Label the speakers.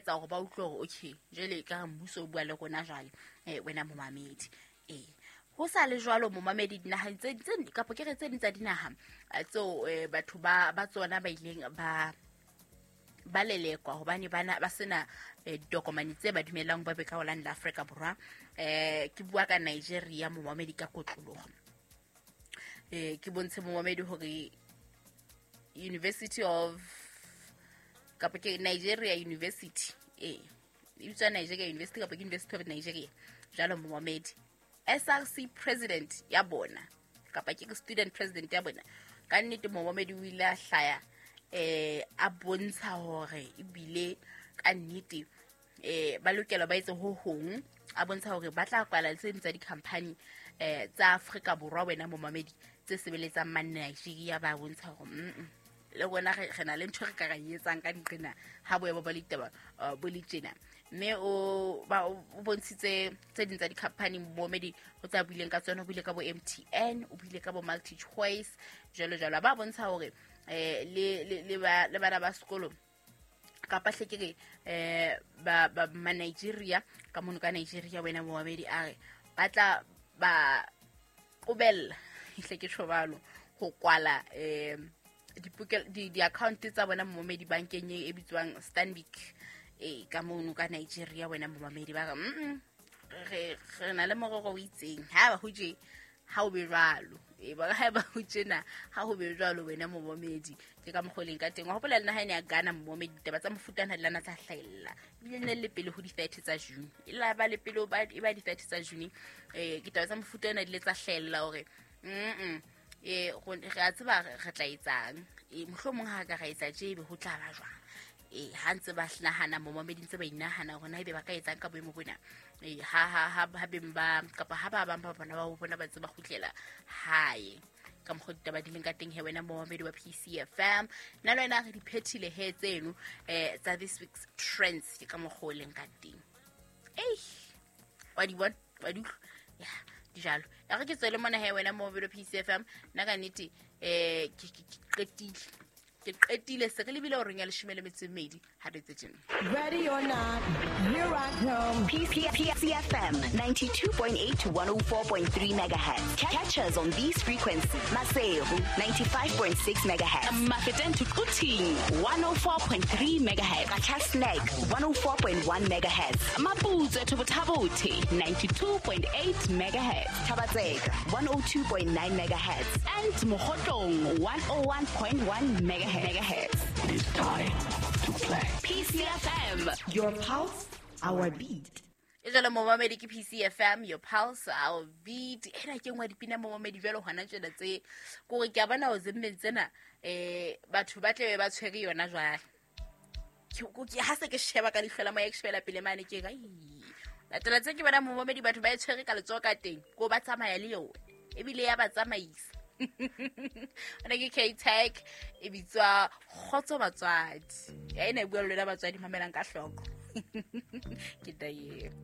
Speaker 1: etsa hore ba utlwe hore okay, jwale ka re mmuso o bua le rona jwale, wena momamedi. Ee, ho sa le jwalo momamedi, dinaheng tse kapa ke re tse ding tsa dinaha tseo batho ba tsona ba ileng ba lelekwa hobane bana ba sena ditokomane tse ba dumellang ba be ka ho la Afrika Borwa. Ke bua ka Nigeria momamedi ka kotloloho. Ke bontshe momamedi hore University of kapa ke Nigeria University, e bitswa Nigeria University kapa ke University of Nigeria jwalo momamedi. SRC president ya bona kapa ke student president ya bona, ka nnete momamedi o ile a hlaya a bontsha hore ebile ka nnete ba lokela ba etse ho hong, a bontsha hore ba tla kwala tse ding tsa di-company tsa Afrika Borwa wena momamedi tse sebeletsang mane Nigeria. Ba bontsha hore le rona re na le ntho re ka ra etsang ka nqena ha boemo ba ditaba bo le tjena. Mme o bontshitse tse ding tsa di-company momamedi ho tsa buileng ka tsona, o buile ka bo MTN, o buile ka bo Multi Choice jwalo jwalo. Ba bontsha hore le bana ba sekolo kapa hle ke re ba ma Nigeria ka mono ka Nigeria wena momamedi, a re ba tla ba qobella hle ke tjhobalo ho kwala di-account tsa bona momamedi bankeng e bitswang Stanbic ka mono ka Nigeria wena momamedi. Ba re re na le morero o itseng, ha ba ho je ha o be jwalo, ba ha ba ho tjena ha ho be jwalo wena momamedi. Ke ka mokgwa o leng ka teng. Wa hopola le naha ena ya Ghana momamedi, ditaba tsa mofuta ona di lana tsa hlahella ebile ne le pele ho di-30 tsa June, e la ba le pele e ba di-30 tsa June. Ditaba tsa mofuta ona di le tsa hlahella hore re a tseba re tla etsang, mohlomong ha ka ra etsa tje ebe ho tla ba jwang. Ha ntse ba nahana momamedi, ntse ba inahana hore na ebe ba ka etsang ka boemo bona, ha beng ba kapa ha ba bang ba bona ba bona ba tseba kgutlela hae. Ka mokgwa ditaba di leng ka teng he wena momamedi wa PCFM, nna le wena re di phethile he tseno tsa this week's trends. Ke ka mokgwa o leng ka teng. Wa di bona, wa di utlwa ya di jalo. Ya re ke tswele mona he wena momamedi wa PCFM, nna ka nnete ke qetile. Ke qetile se re lebile horeng ya 12 ha re tse tjena.
Speaker 2: Ready or not, here I come.
Speaker 3: PCFM 92.8 to 104.3 megahertz. Catch us on these frequencies. Maseru 95.6 megahertz.
Speaker 4: Mafeteng to Quthing 104.3 megahertz.
Speaker 3: Qacha's Nek 104.1 megahertz.
Speaker 4: Maputsoe to Botha-Bothe 92.8 megahertz.
Speaker 3: Thaba-Tseka 102.9 megahertz.
Speaker 4: And Mokhotlong 101.1 megahertz.
Speaker 5: It is time to play.
Speaker 4: PCFM,
Speaker 2: your pulse, our beat.
Speaker 1: E jwalo momamedi ke PCFM, your pulse, our beat. Ena ke nngwe ya dipina momamedi jwalo hona tjena tse kore ke a bona ho zemmeng tsena, batho ba tlabe ba tshwere yona jwale. Ha se ke sheba ka leihlo la moya, ke shebela pele mane ke re, ai, latela tse ke bona momamedi batho ba e tshwere ka letsoho ka teng, ko ba tsamaya le yona ebile ya ba tsamaisa. Ona ke K-Tech e bitswa Kgotso Batswadi. Ya ena e bua le lona batswadi, mamelang ka hloko. Ke taeo.